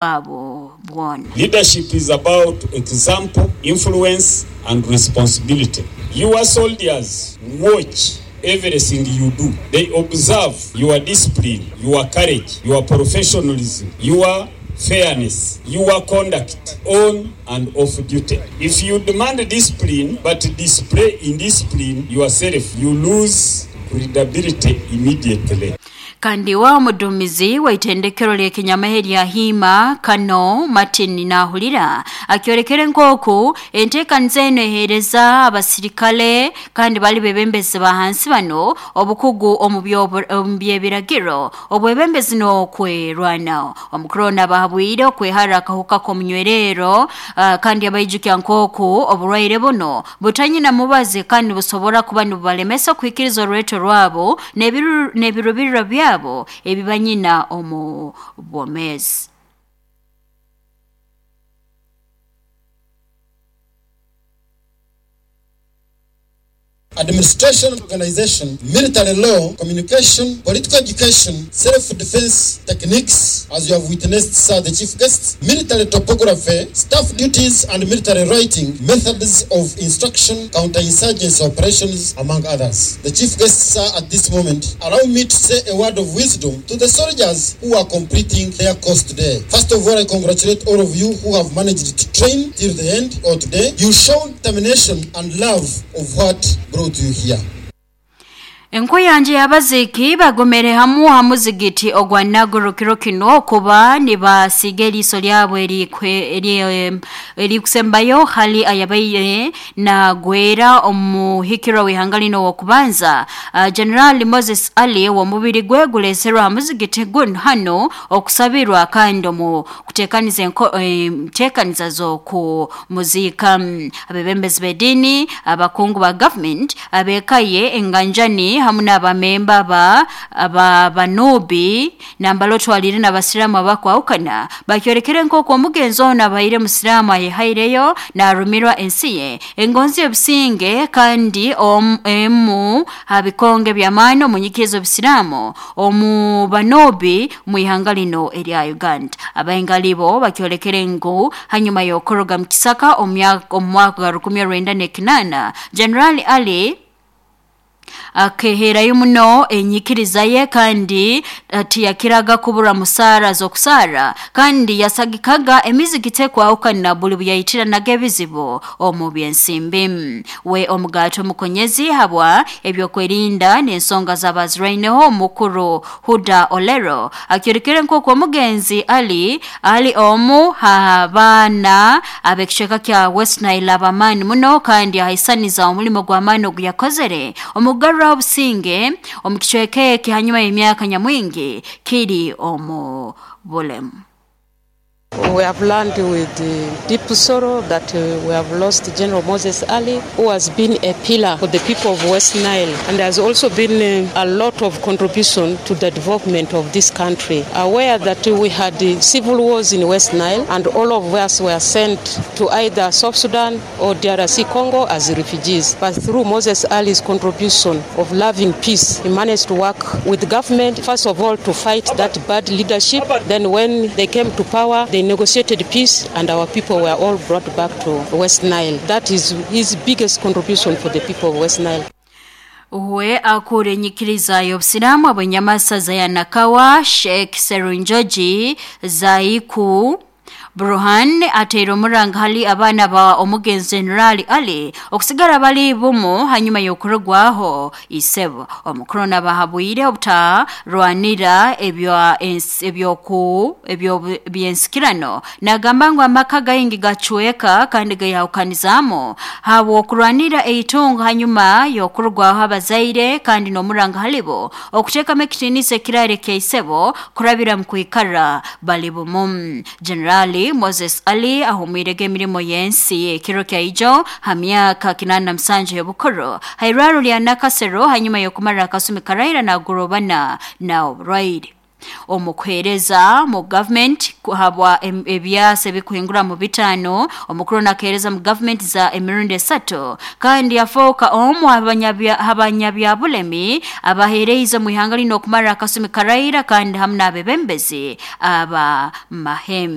Bwabo bwona. Leadership is about example, influence and responsibility. Your soldiers watch everything you do. They observe your discipline, your courage, your professionalism, your fairness, your conduct on and off duty. If you demand discipline but display indiscipline yourself, you lose credibility immediately. Kandi wa omuduumizi w'itendekero ly'ekinyamahe lya Hiima Kano Martin Nahurira akyolekere nk'oku enteekaniza enu eheereza abasirikale kandi bali bebembezi ba hansi bano obukugu omu by'ebiragiro obwebembezi n'okwerwanaho. Omukuru onu abahabwire okwehara akahuka k'omunywerero kandi abaijukya nk'oku oburwaire buno butanyina mubazi kandi busobora kuba nibubalemesa kuhikiriza orweto rwabo n'ebirubiriro byabo ebibanyina omu bwomeezi. Administration and organization, military law, communication, political education, self-defense techniques, as you have witnessed, sir, the chief guest, military topography, staff duties and military writing, methods of instruction, counterinsurgency operations, among others. The chief guest, sir, at this moment, allow me to say a word of wisdom to the soldiers who are completing their course today. First of all, I congratulate all of you who have managed to train till the end or today. You showed determination and love of what brought you here. Enkuyanja y'abaziiki bagomere hamu ha muzigiti ogwa Naguru kiro kino kuba nibasiga eriiso lyabo erikusembayo hali ayabaire nagwera omuhikirwa w'ihanga lino w'okubanza General Moses Ali w'omubiri gwe guleserwa ha muzigiti guno hano okusabirwa kandi omu kuteekaniza enteekaniza z'okumuziika. Abebembezi b'ediini, abakungu ba government, abeekaye enganjani hamu n'abamemba ba banubi nambala otwalire n'abasiraamu abakwahukana bakyolekere nk'oku omugenzi ono abaire musiraamu ayehaireyo n'arumirwa ensi ye engonzi y'obusinge kandi emu ha bikonge by'amaani omu nyikiriza obusiraamu omu banubi mu ihanga lino erya Uganda. Abaingali bo bakyolekere ngu hanyuma y'okoroga mu kisaka omu mwaka gwa 1908 General Ali akeherayo muno enyikiriza ye kandi tiyakiraga kubura musaara z'okusaara kandi yasagikaga emizigiti ekwahukana buli buyayitiranaga ebizibu omu byensimbi. We omugato omukonyezi habwa ebyokwerinda n'ensonga z'abaziraineho omukuru Huda Olero akyolekere nk'oku omugenzi Ali ali omu ha baana ab'ekicweka kya West Nile ab'amaani muno kandi ahaisaniza omulimo gw'amaani ogu yakozere omugarura obusinge omu kicweka eki hanyuma y'emyaka nyamwingi kiri omu bulemu. We have learned with deep sorrow that we have lost General Moses Ali, who has been a pillar for the people of West Nile and has also been a lot of contribution to the development of this country. Aware that we had civil wars in West Nile and all of us were sent to either South Sudan or DRC Congo as refugees. But through Moses Ali's contribution of loving peace, he managed to work with the government, first of all, to fight that bad leadership. Then when they came to power, they negotiated peace and our people were all brought back to West Nile. That is his biggest contribution for the people of West Nile. Uwe akure enyikiriza y'obusiraamu ab'enyamasaza ya Nakawa Sheikh Serunjogi Zaiku Burhan ateire omuranga hali abaana ba omugenzi General Ali okusigara bali bumu hanyuma y'okurugwaho isebo. Omukuru n'abahabwire obutarwanira ebyensikirano nagamba ngu amaka gaingi gacweka kandi gayahukanizamu habw'okurwanira eitungo hanyuma y'okurugwaho abazaire kandi n'omuranga halibo okuteekamu ekitiinisa ekirare kya isebo kurabira mu kwikara bali bumu. General Moses Ali ahumwirege emirimo y'ensi ekiro kya ijo ha myaka 87 y'obukuru hairwaro lya Nakasero hanyuma y'okumara akasumi karaira nagurobana na oburwaire. Omukuheereza mu gavumenti habwa ebyasa ebikuhingura mu 5, omukuru nakeereza mu gavumenti za emirundi 3 kandi yafooka omu abanyabyabulemi abaheereize mu ihanga lino okumara akasumi karaira kandi hamu n'abebembezi aba mahe.